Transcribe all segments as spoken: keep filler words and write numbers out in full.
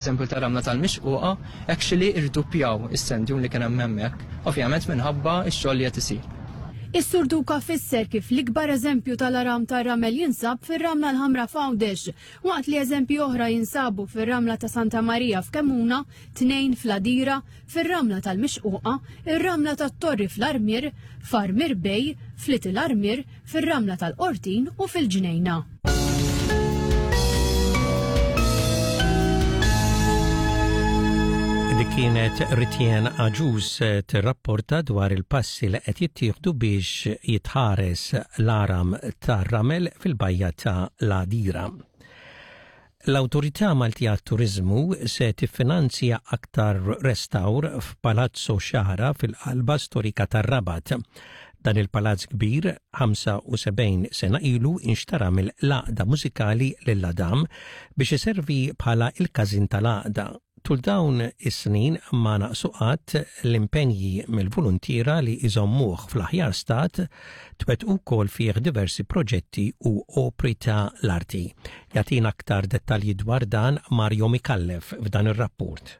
Eżempju ta' Ramla tal-Mixquqa, actually irduppjaw is-sand dune li kien hemm hemmhekk, ovvjament minħabba x-xogħol li qed isir. Is-Sur Duka fisser kif l-ikbar eżempju tal-għaram tar-ramel jinsab fir-Ramla l-Ħamra f'Għawdex, waqt li eżempji oħra jinsabu fir-Ramla ta' Santa Marija f'Kemmuna, tnejn fl-Għadira, fir-Ramla tal-Mixquqa, ir-Ramla tat-Torri fl-Armier, f'Armier Bay, f'Little Armier, fir-Ramla tal-Qortin u fil-Ġnejna. Dik kienet Ritjen Aġus tirrapporta dwar il-passi li qed jittieħdu biex jitħares l-għaram tar-ramel fil-bajja ta' l-Għadira. L-Awtorità Maltija Turiżmu se tiffinanzja aktar restawr f'Palazzo Xara fil-qalba storika tar-Rabat. Dan il-palazz kbir ħamsa u sebgħin sena ilu inxtara mill-Għaqda Mużikali Lil Adam biex iservi bħala il-każin tal-għaqda. Tul dawn is-snin ma naqsu qatt l-impenji mill-voluntiera li iżommuh fl-aħjar stat, twettqu wkoll fih diversi proġetti u opri ta' l-arti. Jagħtina aktar dettalji dwar dan Mario Mikallef f'dan ir-rapport.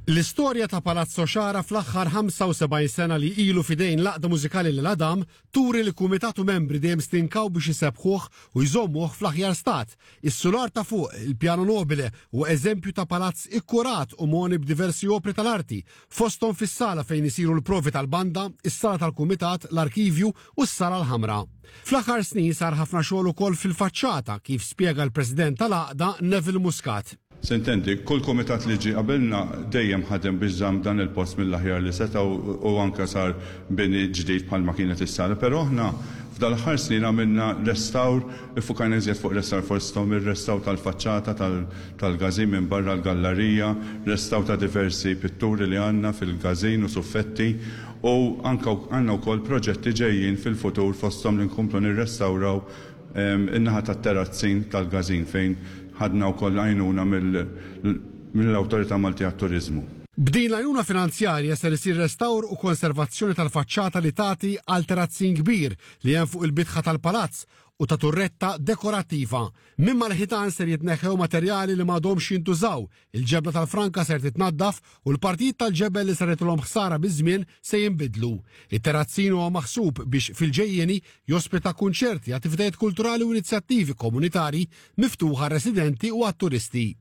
L-istorja ta' Palazzo Xara fl-aħħar ħamsa u sebgħin sena li ilu fidejn l-Għaqda Mużikali Lil Adam turi li kumitatu membri dejjem stinkaw biex isebbħuh u jżommuh fl-aħjar stat. Is-sular ta' fuq, il-piano nobile, u eżempju ta' palazz ikkurat u moni b'diversi opri tal-arti, fosthom fis-sala fejn isiru l-provi tal-banda, is-sala tal-kumitat, l-arkivju u s-sala l-ħamra. Fl-aħħar snin sar ħafna xogħol ukoll fil-faċċata, kif spjega l-President tal-Għaqda, Neville Muscat. S'intendi, kull komitat li ġi qabilna dejjem ħadem biex żamm dan il-post mill-aħjar li seta' u anka sar bini ġdid bħalma kienet is-sala. Però aħna f'dal-aħħar snin għamilna restawr, iffukajna iżjed fuq restawr, fosthom ir-restawr tal-faċċata tal-każin minn barra l-gallerija, restawr ta' diversi pitturi li għandna fil-każin u suffetti, u anka għandna wkoll proġetti ġejjin fil-futur, fosthom li nkomplu nirrestawraw in-naħa tat-terazzin tal-każin fejn ħadna wkoll għajnuna mill-Awtorità Maltija Turiżmu. B'din l-għajnuna finanzjarja ser isir restawr u konservazzjoni tal-faċċata li tagħti għal terazzin kbir li hemm fuq il-bitħa tal-palazz u ta' turretta dekorattiva. Minn mal-ħitan ser jitneħħew materjali li m'għadhomx jintużaw, il-ġebla tal-franka ser titnaddaf u l-partijiet tal-ġebel li saritilhom ħsara biż-żmien se jinbidlu. It-terazzin huwa maħsub biex fil-ġejjeni jospita kunċerti, attivitajiet kulturali u inizjattivi komunitari miftuħa residenti u għat-turisti.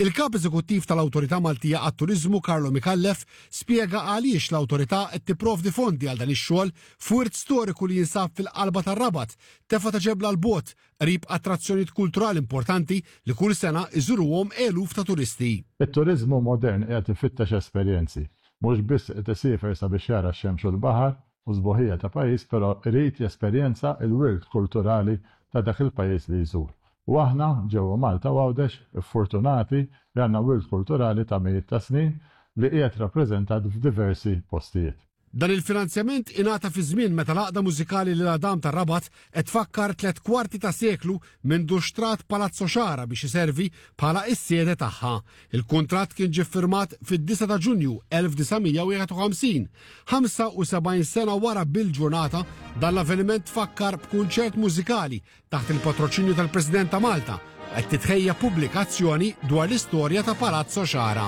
Il-kap eżekuttiv tal-Awtorità Maltija għat-Turiżmu, Carlo Mikallef, spjega għaliex l-awtorità qed tipprovdi fondi għal dan ix-xogħol f'wirt storiku li jinsab fil-qalba tar-Rabat, tefa ta' ġebla 'l bogħod, qrib attrazzjonijiet kulturali importanti li kull sena iżuruhom eluf ta' turisti. It-turizmu modern qiegħed ifittex esperjenzi. Mhux biss qed isiefer sabiex jara x-xemx u l-baħar u sbuħija ta' pajjiż, però irid jesperjenza il-wirt kulturali ta' dak il-pajjiż li jżur. U aħna ġewwa Malta u Għawdex fortunati li għandna wirt kulturali ta' mijiet ta' snin li qiegħed rappreżentat f'diversi postijiet. Dan il-finanzjament ingħata fi żmien meta l-Għaqda Mużikali Lil Adam tar-Rabat qed tfakkar tliet kwarti ta' seklu minn xtrat Palazzo Xara biex iservi bħala is-sede tagħha. Il-kuntratt kien ġie firmat fid-disgħa ta' Ġunju elf disa' mija u wieħed u ħamsin. ħamsa u sebgħin sena wara bil-ġurnata, dan l-avveniment fakkar b'kunċert mużikali taħt il-patroċinju tal-President ta' Malta, qed titħejja pubblikazzjoni dwar l-istorja ta' Palazzo Xara.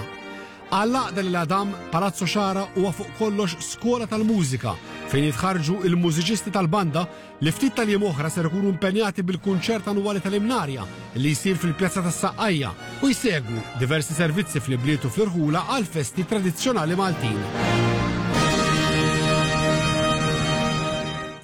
Għall-Għaqda Lil Adam, Palazzo Xara huwa fuq kollox skola tal-mużika fejn jitħarġu il-mużiċisti tal-banda li ftit tal-jiem oħra ser ikunu impenjati bil-kunċert annwali tal-Imnarja li jsir fil-Pjazza tas-Saqqajja u jsegwu diversi servizzi fl-ibliet u fl-irħula għal festi tradizzjonali Maltin.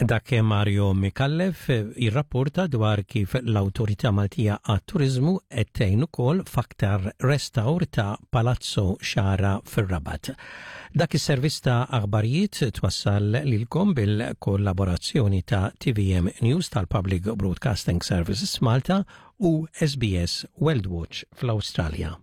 Dak Mario Mikallef jirrapporta dwar kif l-Awtorità Maltija għat-Turiżmu qed tgħin ukoll f'aktar restawr ta' Palazzo Xara fir-Rabat. Dak is-servizz ta' aħbarijiet twassal lilkom bil-kollaborazzjoni ta' T V M News tal-Public Broadcasting Services Malta u S B S World Watch fl-Awstralja.